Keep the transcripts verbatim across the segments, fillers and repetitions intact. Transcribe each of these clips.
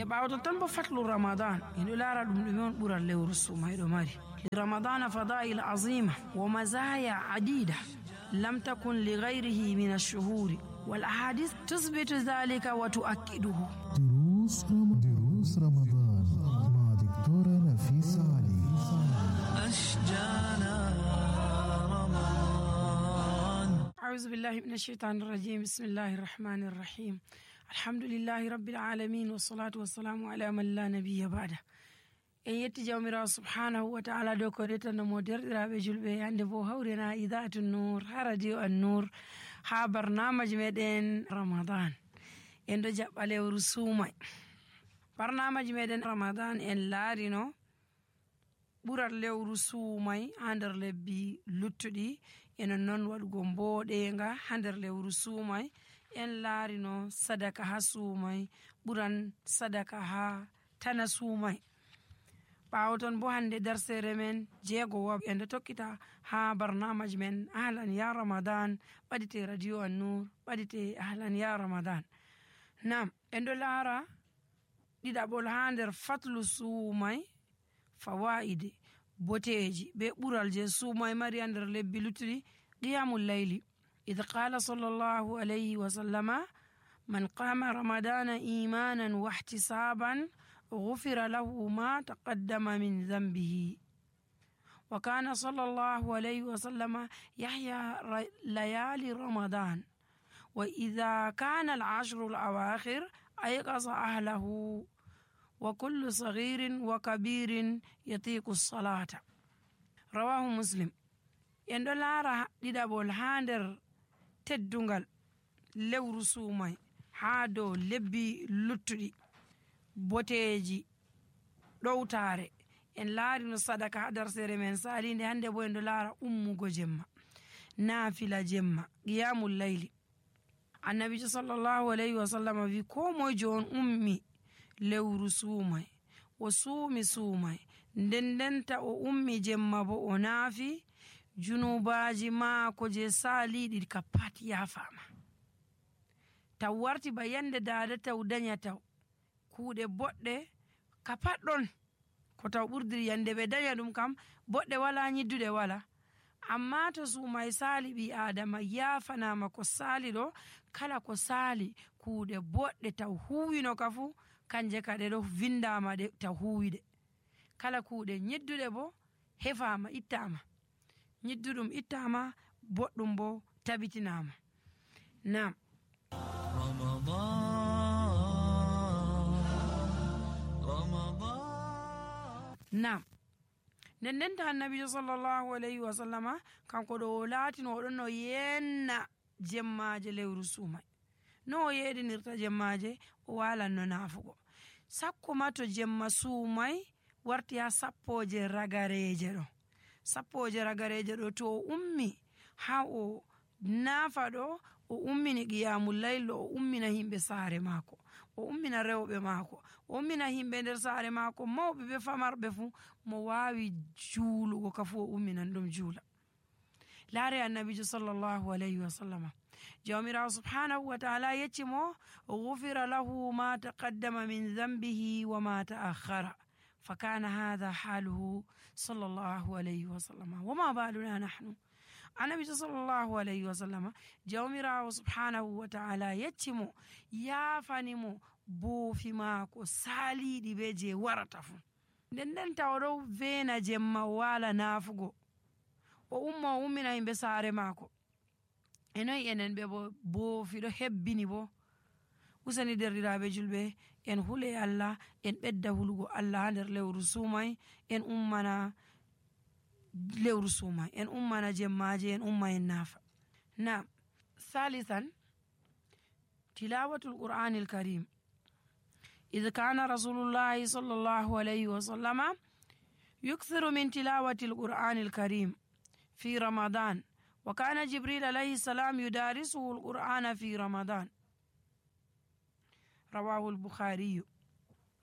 ɓawaton tan bo fatlu ramadan endo lara ɗum ɗume on ɓural lewru sumayɗo mari. لرمضان فضائل عظيمة ومزايا عديدة لم تكن لغيره من الشهور والأحاديث تثبت ذلك وتؤكده. دروس دروس رمضان مع دكتورة نفيسة علي. أشجانا رمضان. أعوذ بالله من الشيطان الرجيم. بسم الله الرحمن الرحيم. الحمد لله رب العالمين والصلاة والسلام على من لا نبي بعده. en yetti jawmirawo subhanahu wa ta'ala dow ko retannomo derɗiraɓe julɓe hande bo hawrena idaatu nour ha radio an nour ha barnamaji meɗen ramadan en ɗo jaɓɓa lewru suumay. barnamaji meɗen ramadan en laarino ɓural lewru suumay ha nder lebbi luttuɗi enon noon waɗugo mboɗenga ha nder lewru suumay. en laarino sadaka ha suumay ɓuran sadaka ha tana suumay. ɓawo ton bo hande darsere men jeego woɓ en ɗo tokkita ha barnamaji men ahlan ya ramadan ɓaɗite radio an nour ɓaɗite ahlan ya ramadan. nam en ɗo laara ɗiɗaɓol ha nder fatlu suumay fawaide boteji be ɓural je suumay mari ha nder lebbi luttuɗi qiyamul layli. id qala sallallahu alayhi wa sallama man qama ramadana imanan wa ihtisaban غفر له ما تقدم من ذنبه. وكان صلى الله عليه وسلم يحيى ليالي رمضان وإذا كان العشر الأواخر أيقظ أهله وكل صغير وكبير يطيق الصلاة. رواه مسلم. يندو لارا ديدابول هاندر تدونغال لewru suumay haa dow lebbi luttuɗi boteji ɗowtare en laarino sadaka ha darsere men salinde. hande bo en ɗo laara ummugo jemma naafila jemma qiyamul layli. annabijo sallallahu alayhi wa sallam wi ko moyjo on ummi lewru suumay o suumi suumay nden ndenta o ummi jemma bo o naafi junubaji maako je saaliɗi ka pat yaafama. taw warti ba yande dada taw daña taw kuuɗe boɗɗe ka patɗon ko taw ɓurdiri yande ɓe daña ɗum kam boɗɗe wala nyidduɗe wala. amma to suumay saali ɓi adama yafanama ko saali ɗo kala ko saali kuuɗe boɗɗe taw huwino ka fu kanje ka ɗe ɗo vindama ɗe taw huwiɗe. kala kuuɗe nyidduɗe bo hefama ittama nyidduɗum ittama boɗɗum bo tabitinama. nam nam nden ndenta annabijo sallallahu alayhi wa sallama kanko ɗo o laatino oɗon no yenna jemmaje lewru suumay. no o yeɗinirta jemmaje o walanno naafugo sakko ma to jemma suumay warti ha sappoje ragareje ɗo. sappoje ragareje ɗo to o ummi ha o naafa ɗo o ummini qiyamul layl o ummina himɓe saare maako o ummina rewɓe maako o ummina himɓe nder saare maako mawɓe be famarɓe fuu mo waawi juulugo ka fuu o umminan ɗum juula. laare annabijo sallallahu alayhi wa sallama jawmirawo subhanahu wa ta'ala yecci mo gufira lahu ma taqaddama min dhanbihi wa ma ta'akhkhara fa kana hadha haluhu sallallahu alayhi wa sallama wa ma baluna nahnu. annabijo sallallahu alayhi wa sallama jawmirawo subhanahu wa ta'ala yecci mo yaafani mo boofi maako saaliɗi be je warata fu. nden nden taw ɗo veena jemma o waala naafugo o umma o ummina himɓe saare maako e noyi enen ɓe bo boofi ɗo hebbini bo. usani derɗiraɓe julɓe en hule Allah en ɓedda hulugo Allah ha nder lewru suumay en ummana lewru suumay en ummana jemmaje en umma en naafa. nam thalithan tilawatul qur'anil karim. إذ كان رسول الله صلى الله عليه وسلم يكثر من تلاوة القرآن الكريم في رمضان وكان جبريل عليه السلام يدارسه القرآن في رمضان. رواه البخاري.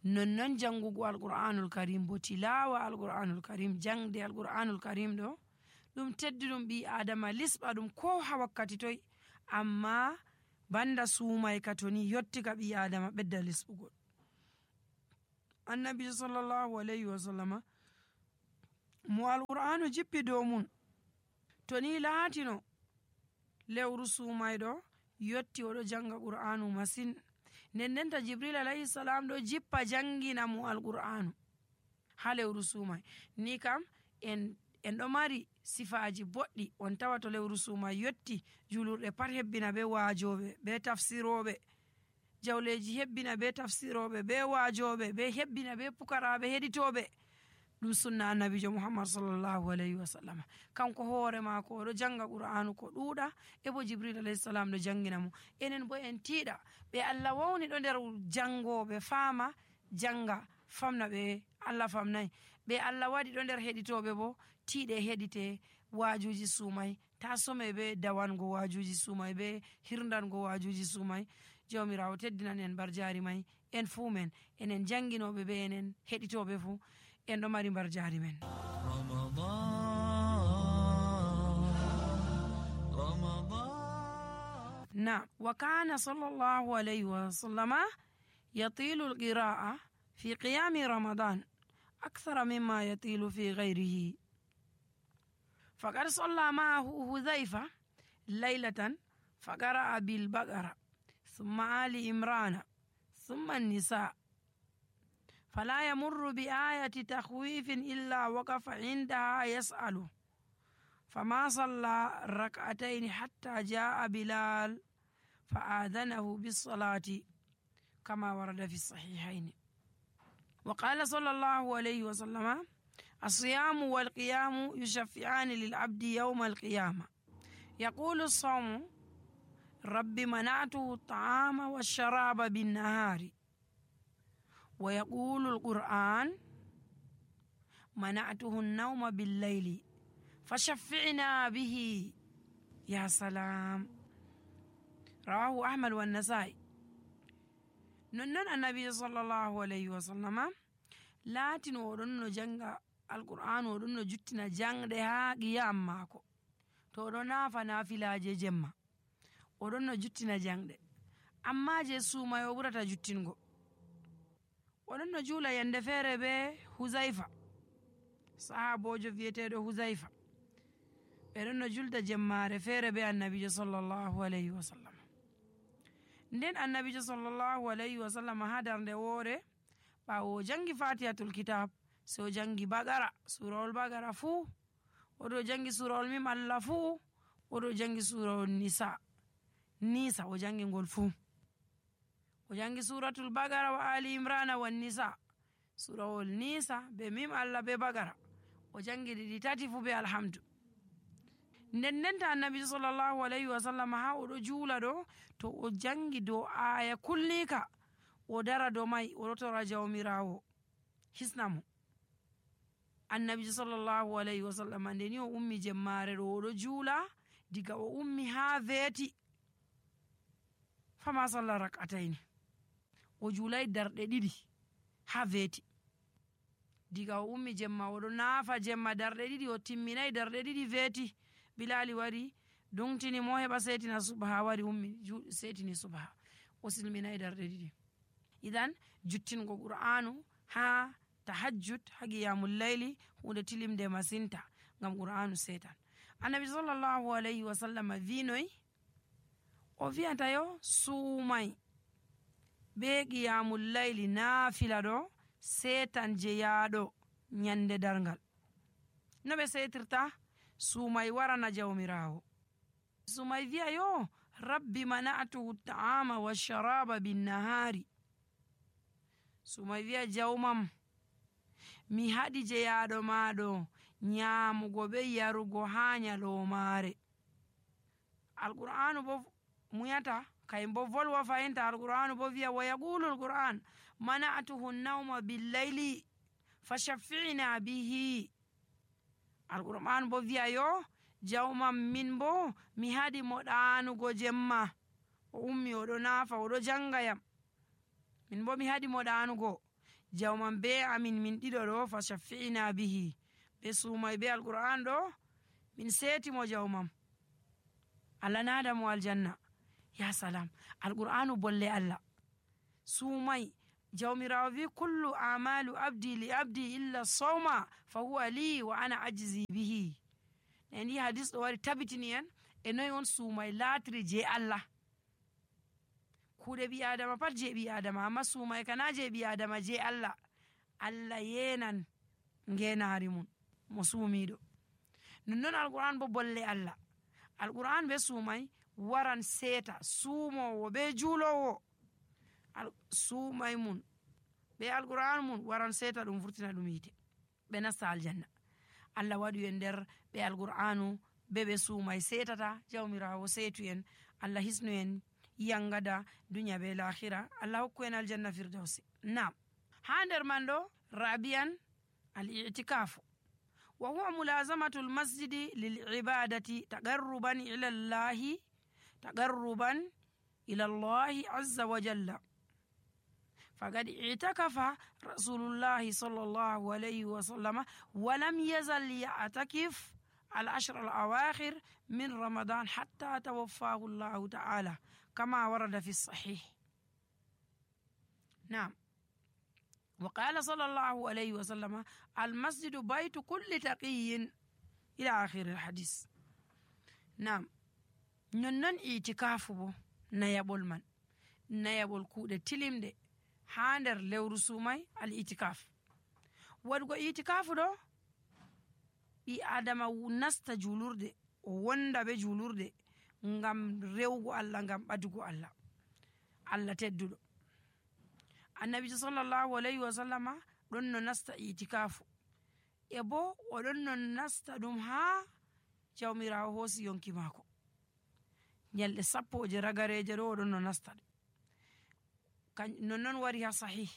ننن جنغو القرآن الكريم بو تلاوة القرآن الكريم جنگ دي القرآن الكريم دو دم تددم بي آدم لسبا دم كوها وقتي توي أما banda suumay katoni yotti ka ɓi adama ɓedda lesɓugol. annabijo sallallahu alayhi wa sallama mo alqur'anu jippi dow mum to ni laatino lewru sumayɗo yotti oɗo janga qur'anu masin. nden ndenta jibril alayhi salam ɗo jippa jangina mo alqur'anu ha lewru sumay. ni kam en en ɗo mari sifaji boɗɗi. on tawa to lewru sumay yotti julurɗe pat hebbina be waajoɓe be tafsiroɓe, jawleji hebbina be tafsiroɓe be waajoɓe be hebbina be pukaraɓe heɗitoɓe. ɗum sunna annabijo muhammad sallllahu alayhi wa sallam. kanko hoore maako oɗo janga qur'anu ko ɗuuɗa e bo jibril alayhi salam ɗo jangina mo. enen bo en tiiɗa ɓe allah wawni ɗo nder jangoɓe faama janga famna ɓe allah famnayi. ɓe allah waɗi ɗo nder heɗitoɓe bo tiiɗe heɗite waajuji sumay, ta some be dawango waajuji sumay be hirdango waajuji sumay. jawmirawo teddinan en bar jari may en fuu men enen janginoɓe be enen heɗitoɓe fuu en ɗo mari bar jari men. na wa kana sallallahu alayhi wa sallama yatilu alqira'a fi qiyami ramadan akthara mimma yatilu fi ghayrihi faqad salla ma'ahu hudhayfa laylatan faqara'a bil baqara thumma ali imrana thumma an-nisa فلا يمر بآية تخويف إلا وقف عندها يسأل فما صلى ركعتين حتى جاء بلال فآذنه بالصلاة كما ورد في الصحيحين. وقال صلى الله عليه وسلم الصيام والقيام يشفعان للعبد يوم القيامة. يقول الصوم رب منعته الطعام والشراب بالنهار، ويقول القرآن منعته النوم بالليل فشفعنا به. يا سلام. رواه أحمد والنسائي. ننن النبي صلى الله عليه وسلم لاتن ودن جنگ القرآن ودن جتنا جنگ دها قيام ماكو تو نافا نافلاje jemma ودن جتنا جنگ de amma je suma yo burata juttingo. oɗon no juula yande feere be huzaifa, sahabojo wiyeteɗo huzaifa. ɓeɗon no julda jemmare feere be annabijo sallllahu alayhi wa sallam. nden annabijo sallllahu alayhi wa sallam ha darnde woore ɓawo o jangi fatihatul kitab so o jangi bagara, surawol bagara fuu, oɗo jangi surawol mim allah fuu, oɗo jangi surawol nisa nisa o jangi ngol fuu, o jangi suratul bagara wa ali imrana wan nisa, surawol nisa be mim allah be bagara o jangi ɗiɗi tati fu be alhamdu. nden ndenta annabi sallllahu alayhi wa sallam ha oɗo juula ɗo to o jangi dow aya kullika o dara dow may oɗo tora jawmirawo hisnamo. annabi sallllahu alayhi wa sallam ndeni o ummi jemmare ɗo oɗo juula diga o ummi ha veeti fama salla rak'atayni, o juulay darɗe ɗiɗi ha veeti. diga o ummi jemma oɗo naafa jemma darɗe ɗiɗi o timminayi darɗe ɗiɗi veeti. bilali wari dungtini mo heɓa setina subaha, wari ummi setini subaha, o silminayi darɗe ɗiɗi. idan juttingo qur'anu ha tahajjud ha qiyamul layli hunde tilimde masinta ngam qur'anu setan. annabi sallllahu alayhi wa sallam winoy o wiyata yo suumay be qiyamul layli naafila ɗo setan jeyaɗo nyande dargal. no ɓe setirta? suumay warana jawmirawo, suumay wiya yo rabbi mana'tuhu ta'ama washaraba binnahari. suumay wiya jawmam mi haɗi jeyaɗo maɗo nyamugo be yarugo ha nyalomare. alqur'anu bo muyata kay bo volwa fayinta. alqur'anu bo wiya wa yaqulu alqur'an mana'tuhu nawma billayli fashaffi'na bihi. alqur'an bo wiya yo jawmam min bo mi haɗi mo ɗanugo jemma, o ummi oɗo naafa oɗo jangayam, min bo mi haɗi mo ɗanugo. jawmam be amin min ɗiɗo ɗo fashaffi'na bihi, ɓe suumay be alqur'an ɗo min setimo jawmam, allah nada mo aljanna. ya salam. alqur'anu bolle allah. suumay jawmirawo wi kullu amalu abdi li abdi illa sawma fa huwa li wa ana ajzi bihi. en yi hadis ɗo wari tabitini en e noy on suumay laatiri je Allah. kuuɗe ɓi adama pat je ɓi adama, amma suumay kana je ɓi adama je Allah. Allah yenan ngenari mum mo suumiɗo. nonnon alquran bo bolle Allah. alquran be suumay waran seeta suumowo be juulowo. suumay mum be alquran mum waran seeta ɗum vurtina ɗum yite ɓe nasta aljanna. Allah waɗi en nder ɓe alqur'anu be ɓe suumay seetata. jawmirawo seetu en, Allah hisnu en yangada dunya be lahira. Allah hokku en aljanna firdausi. nam ha nder man ɗo rabian al i'tikafu wa huwa mulazamatu al masjidi lil ibadati taqarruban ila Allah taqarruban ila Allah azza wa jalla. فقد اعتكف رسول الله صلى الله عليه وسلم ولم يزل يعتكف العشر الأواخر من رمضان حتى توفاه الله تعالى كما ورد في الصحيح. نعم. وقال صلى الله عليه وسلم المسجد بيت كل تقي إلى آخر الحديث. نعم. ننن اعتكاف نيابول من نيابول كود تلم دي ha nder lewru suumay al itikaf. waɗugo itikafu ɗo ɓi adama nasta julurde o wonda be julurde ngam rewgo Allah, ngam ɓadugo Allah, Allah tedduɗo. annabijo sallallahu alayhi wa sallama ɗon no nasta itikafu e bo oɗon no nasta ɗum ha jawmirawo hoosi yonki maako nyalɗe sappoje ragareje ɗo oɗon no nasta ɗum. nonnon wari ha sahih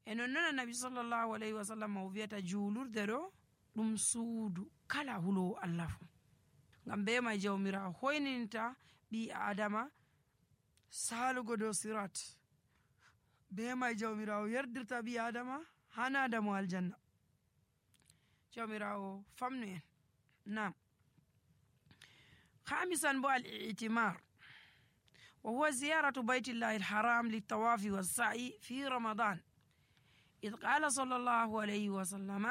e nonnon annabi sallallahu alayhi wa sallam o wiyata juulurde ɗo ɗum suudu kala hulowo Allah fu. ngam be may jawmirawo hoyninta ɓi adama salugo dow sirat. be may jawmirawo yerdirta ɓi adama hanada mo aljanna. jawmirawo famnu en. nam khamisan bo al i'timar وهو زيارة بيت الله الحرام للطواف والسعي في رمضان. إذ قال صلى الله عليه وسلم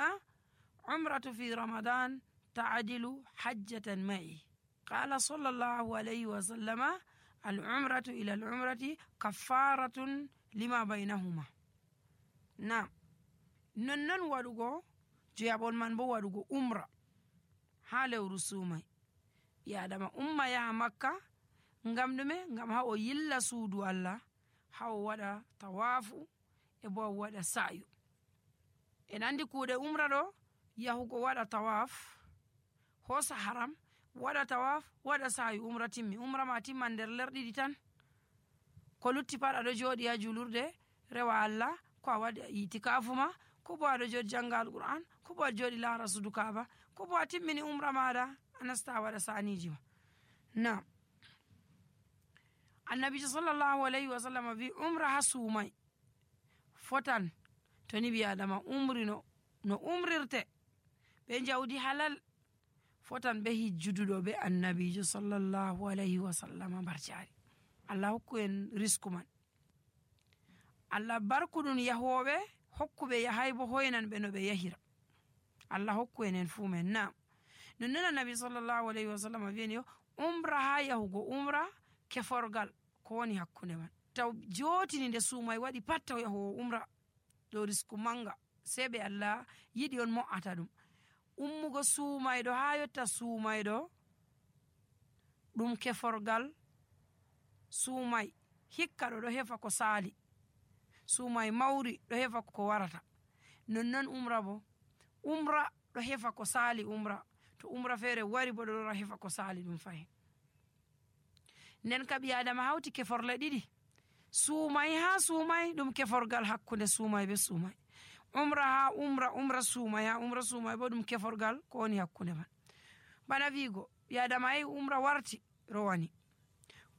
عمرة في رمضان تعدل حجة معي. قال صلى الله عليه وسلم العمرة إلى العمرة كفارة لما بينهما. نعم. ننن ودغو جيابون من بو ودغو عمرة حالو رسومي يا دما أمة يا مكة ngam ɗume ngam ha o yilla suudu Allah, ha o waɗa tawafu e bo o waɗa sa'yu. en andi kuuɗe umra ɗo yahugo waɗa tawaf, hosa haram, waɗa tawaf, waɗa sa'yu, umra timmi. umra ma timman nder lerɗiɗi tan. ko lutti pat aɗo jooɗi ha julurde rewa Allah, ko a waɗi itikafu ma, ko bo aɗo jooɗi janga alquran, ko bo aɗo jooɗi laara sudu kaaba, ko bo a timmini umra maɗa a nasta waɗa saniji ma. nam annabijo sallallahu alayhi wa sallam wi umra ha suumay fotan to ni ɓi adama umri no no umrirte ɓe jawdi halal, fotan ɓe hijjuduɗo ɓe annabijo sallallahu alayhi wa sallam barjari. Allah hokku en risku man. Allah barkuɗum yahoɓe, hokkuɓe yahay bo hoynan ɓe no ɓe yahira. Allah hokku en en fuu men. nam nonnon annabi sallallahu alayhi wa sallam wiyeni yo umra ha yahugo umra keforgal ko woni hakkunde man. taw jotini nde suumay waɗi pat taw yahowo umra ɗo risku manga, sey ɓe Allah yiɗi on mo'ata ɗum. ummugo suumayɗo ha yotta suumayɗo ɗum keforgal suumay hikka ɗo ɗo hefa ko saali, suumay mawri ɗo hefa ko warata. nonnon umra bo umra ɗo hefa ko saali umra, to umra feere wari bo ɗo ɗo hefa ko saali ɗum fayin. nden ka ɓi adama hawti keforle ɗiɗi, suumay ha suumay ɗum keforgal hakkunde suumay be suumay, umra ha umra umra suumay ha umra suumay bo ɗum keforgal ko woni hakkunde man. bana wiigo ɓi adama yehi umra warti rowani,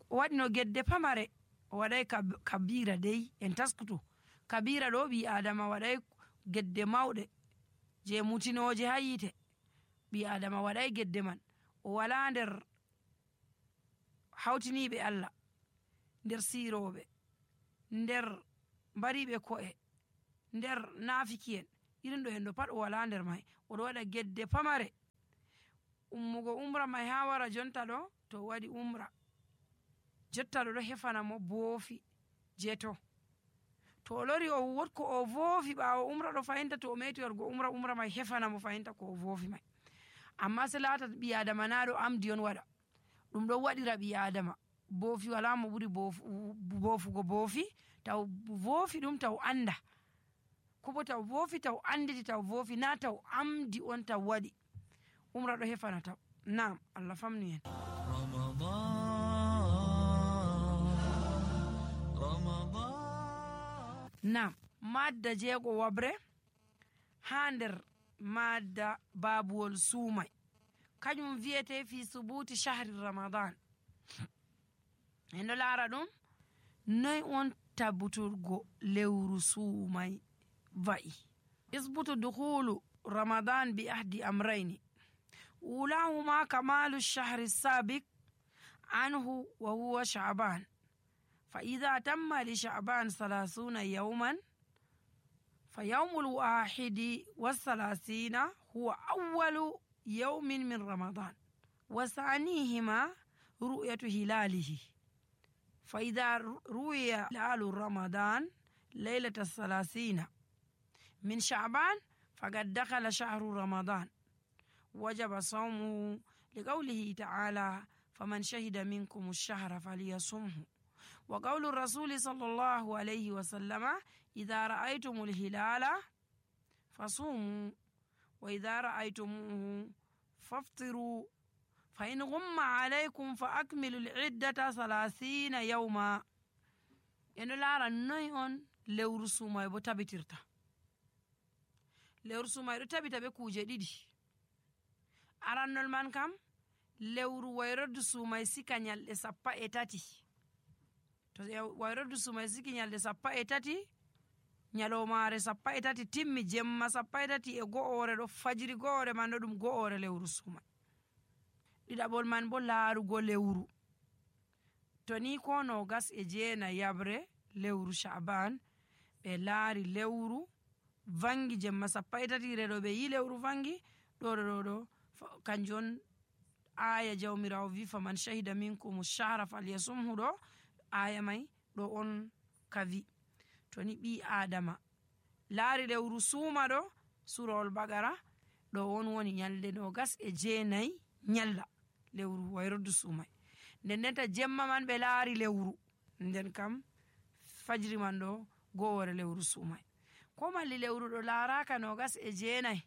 o waɗi no gedde pamare, o waɗay kabira dey en taskutu. kabira ɗo ɓi adama waɗay gedde mawɗe je mutinoje ha yite. ɓi adama waɗay gedde man, o wala nder hawtiniɓe Allah, nder siroɓe, nder mbariɓe ko'e nder nafiki'en irin ɗo en ɗo pat o wala nder mai, oɗo waɗa gedde pamare ummugo umra mai ha wara jonta ɗo to o waɗi umra jotta ɗo ɗo hefana mo boofi je to to o lori o wotko o voofi ɓawo umra ɗo fahinta to o meti wargo umra umra mai hefana mo fahinta ko o voofi mai. amma se lata ɓi adama na ɗo amdi on waɗa ɗum ɗon waɗira ɓi adama boofi wala mo ɓuri boofugo boofi taw voofi ɗum taw anda kobo taw voofi taw anditi taw voofi na taw amdi on taw waɗi umra ɗo hefana taw. Naam, Allah famnu en. Naam, madda jeego wabre ha nder madda babuwol suumai kañum wiyete fi subuti shahri ramadan. en ɗo laara ɗum noy on tabbuturgo lewru suumai wa'i. isbutu dukhulu ramadan bi ahdi amrayni ulahuma kamalu shahri sabik anhu wa huwa sha'ban fa idha tamma li sha'ban salasuna yawman fa yawmul wahidi wa salasina huwa awwalu yawmin min ramadan wa sanihima ru'yatu hilalihi fa idha ru'ya hilalu ramadan laylata salasina min sha'ban faqad dakhala shahru ramadan wajaba sawmuhu liqawlihi ta'ala faman shahida minkum ash-shahra falyasumhu wa qawlu rasuli sallallahu alayhi wa sallama idha ra'aytumul hilala fasumu wa idha ra'aytumuhu faftiru fa in ghumma alaykum fa akmilu al-iddata salasina yawma. en lara noy on lewru sumay bo tabitirta. lewru sumay do tabita be kuje didi. arannol man kam lewru wayroddu sumay sika nyalde sappa e tati. to wayroddu sumay siki nyalde sappa e tati nyalomare sappa e tati timmi jemma sappa e tati e go'ore do fajiri go'ore man do dum go'ore lewru sumay. didabol man bo laarugo lewru to ni ko no gas e jeena yabre lewru sha'ban be laari lewru vangi jemma sappa e tati redo be yi lewru vangi do do do kanjon aya jawmirawo wi faman shahida minkum ash-shahra falyasumhu do aya mai do on kavi. to ni bi adama laari lewru suuma do surol bagara do on woni nyalde no gas e jeenayi nyalla lewru wayroddu suumai. nden ndenta jemma man be laari lewru nden kam fajri man do goore lewru suumai. ko malli lewru do laaraka no gas e jeenayi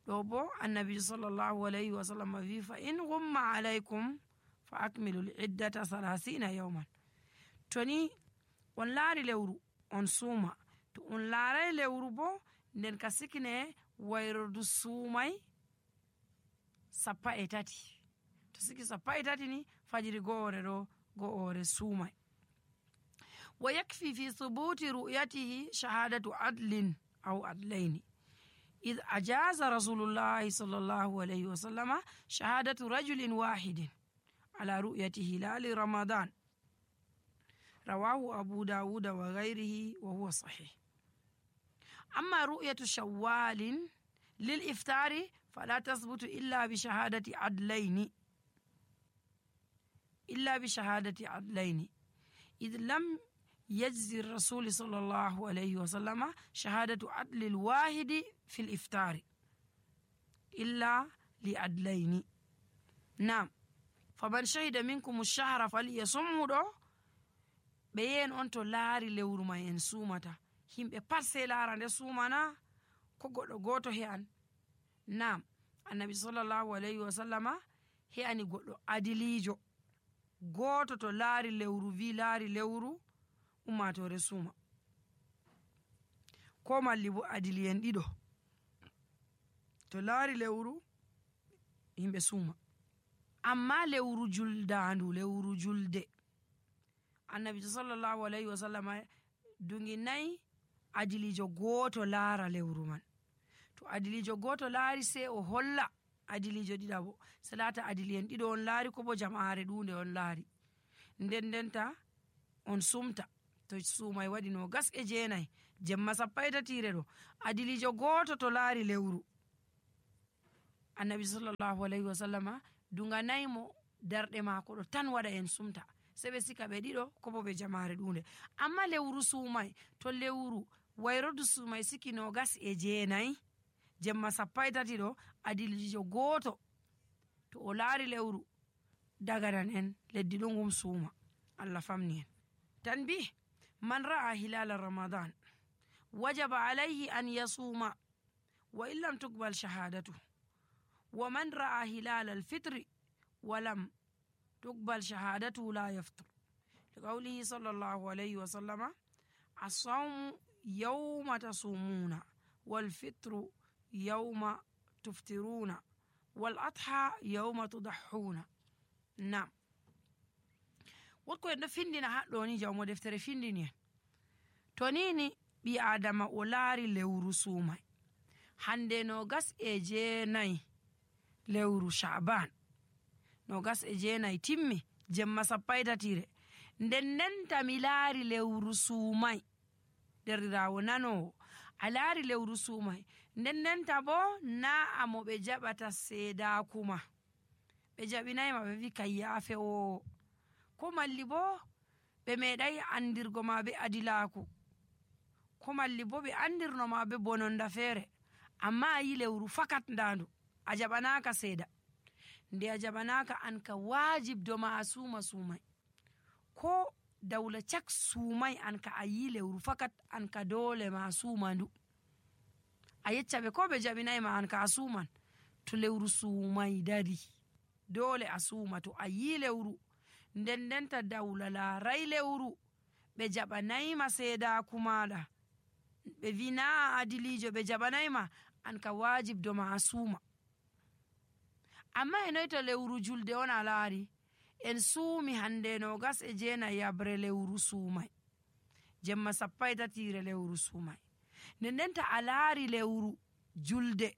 do bo annabi sallallahu alayhi wa sallam wi fa in ghumma alaykum fa akmilu al-iddata salasina yawman. to ni on laari lewru on suuma to on laaray lewru bo nden ka sikine wayroddu suumai sappa e tati. to siki sappa e tati ni fajiri goore do goore suumai. wa yakfi fi thubuti ru'yatihi shahadatu adlin aw adlaini إذ أجاز رسول الله صلى الله عليه وسلم شهادة رجل واحد على رؤية هلال رمضان رواه أبو داود وغيره وهو صحيح. أما رؤية شوال للإفطار فلا تثبت إلا بشهادة عدلين إلا بشهادة عدلين إذ لم يجزي الرسول صلى الله عليه وسلم شهادة عدل الواحد في الإفطار إلا لعدلين. نعم فمن شهد منكم الشهر فليصمه دو بين أنتو لاري لورو ما ينسومتا هم بپرسي لارا دي سومانا كوغو غوتو هيان. نعم النبي صلى الله عليه وسلم هياني غوتو عدليجو غوتو تو لاري لورو في لاري لورو ummatore suma ko malli bo adiliyen ɗiɗo to laari lewru himɓe suma. amma lewru juldandu lewru julde annabi sallallahu alayhi wa sallam dungi nayi adilijo goto laara lewru man. to adilijo goto laari se o holla adilijo ɗiɗabo salata adiliyen ɗiɗo on laari ko bo jama'are ɗunde on laari nden ndenta on sumta to suumay waɗi no gas e jeenayi jemma sappo e tatire ɗo adilijo gooto to laari lewru, annabi sallllahu alayhi wa sallama duganaymo darɗe maako ɗo tan waɗa en sumta, se ɓe sika ɓe ɗiɗo ko bo ɓe jamare ɗunde. amma lewru suumay to lewru wayrodu suumay siki no gas e jeenayi jemma sappo e tati ɗo adilijo gooto to o laari lewru daganan en leddi ɗo ngum suuma. Allah famni en. tanbih man ra'a hilala ramadan wajaba alayhi an yasuma wa in lam tuqbal shahadatu wa man ra'a hilala alfitri wa lam tuqbal shahadatu la yaftur liqawlihi sallallahu alayhi wa sallama as-sawmu yawma tasumuna wal fitru yawma tuftiruna wal adha yawma tudahhuna. Nam wotko en ɗo findina haɗɗo ni jawmo deftere findini en to nini ɓi adama o laari lewru suumay hande no gas e jeenayi lewru sha'ban no gas e jeenayi timmi jemma sappo e tatire nden ndenta mi laari lewru suumay derrirawo nanowo a laari lewru suumay nden ndenta bo na amo ɓe jaɓata seedakuma ɓe jaɓinayma ɓe wi kay yaafe o ko malli bo ɓe meeɗay andirgo ma be adilaku ko malli bo ɓe andirnoma be bononda feere amma a yi lewru fakat ndandu a jaɓanaka seeda nde a jaɓanaka an ka wajibdo ma a suuma suumay ko dawla cak suumay an ka a yi lewru fakat an ka dole ma a suuma ndu a yeccaɓe ko ɓe jaɓinayma an ka a suuman to lewru suumay dari dole a suuma to a yi lewru nden ndenta dawla laaray lewru ɓe jaɓanayma seedaku maɗa ɓe wi na adilijo ɓe jaɓanayma an ka wajibdo ma a suuma. amma e noy to lewru julde on a laari en suumi hande no gas e jeena yabre lewru suumay jemma sappo e tatire lewru suumay nden ndenta a laari lewru julde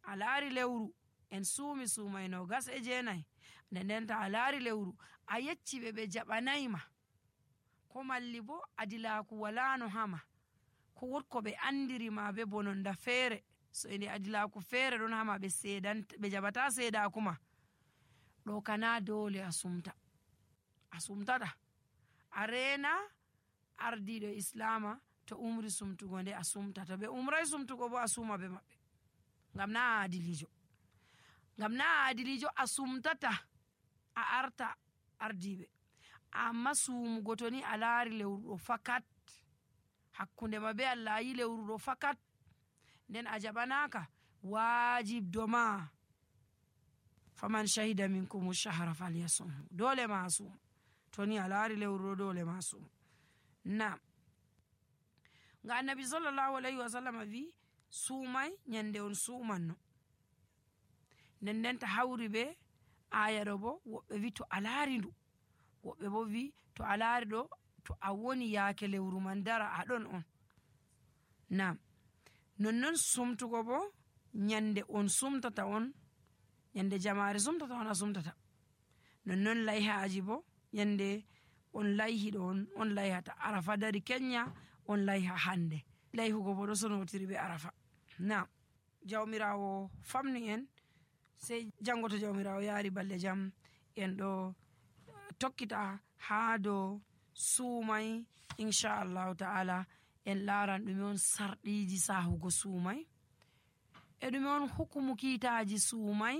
a laari lewru en suumi suumay no gas e jeenayi nden ndenta a laari lewru a yecci ɓe ɓe jaɓanayma ko malli bo adilaku walano hama ko wotko ɓe andirima be bononda feere so ende adilaku feere ɗon hama ɓe seedanta ɓe jaɓata seedakuma ɗo kana dole a sumta a sumtata a reena ardiɗo islama to umri sumtugo nde a sumta to ɓe umray sumtugo bo a suuma be maɓɓe ngam na a adilijo ngam na a adilijo a sumtata a arta ardiɓe amma suumugo to ni a laari lewru ɗo fakat hakkunde ma be Allah a yi lewru ɗo fakat nden a jaɓanaka wajibdo ma faman shahida minkum shahra falyasumhu dole ma a suuma to ni a laari lewru ɗo dole ma a suuma. Nam nga annabi sallallahu alayhi wa sallam wi suumay nyande on suumanno nden ndenta hawri be aya ɗo bo woɓɓe wi to a laari ndu woɓɓe bo wi to a laari ɗo to a woni yaake lewru man dara aɗon on. Nam nonnon sumtugo bo nyande on sumtata on nyande jamare sumtata on a sumtata nonnon layhaji bo nyande on layhiɗo on on layhata arafa dari kenya on layha hande layhugo bo ɗo sonotiri be arafa. Nam jawmirawo famni en sey jango to jawmirawo yaari balle jam en ɗo tokkita haa dow suumay inchallahu ta'ala en laaran ɗume on sarɗiji sahugo suumay e ɗume on hukumu kiitaji suumay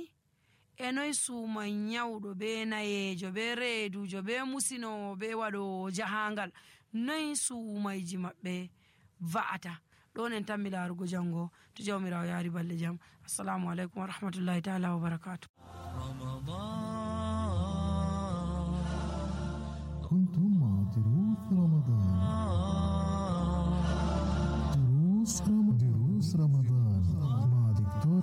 e noy suumay nyawɗo be nayejo be reedujo be musinowo be waɗowo jahangal noy suumayji maɓɓe va'ata ɗon en tammi laarugo jango to jawmirawo yaari balle jam. Assalamu aleykum wa rahmatullahi ta'ala wa barakatuh. كنتم مع دروس رمضان دروس رمضان دروس رمضان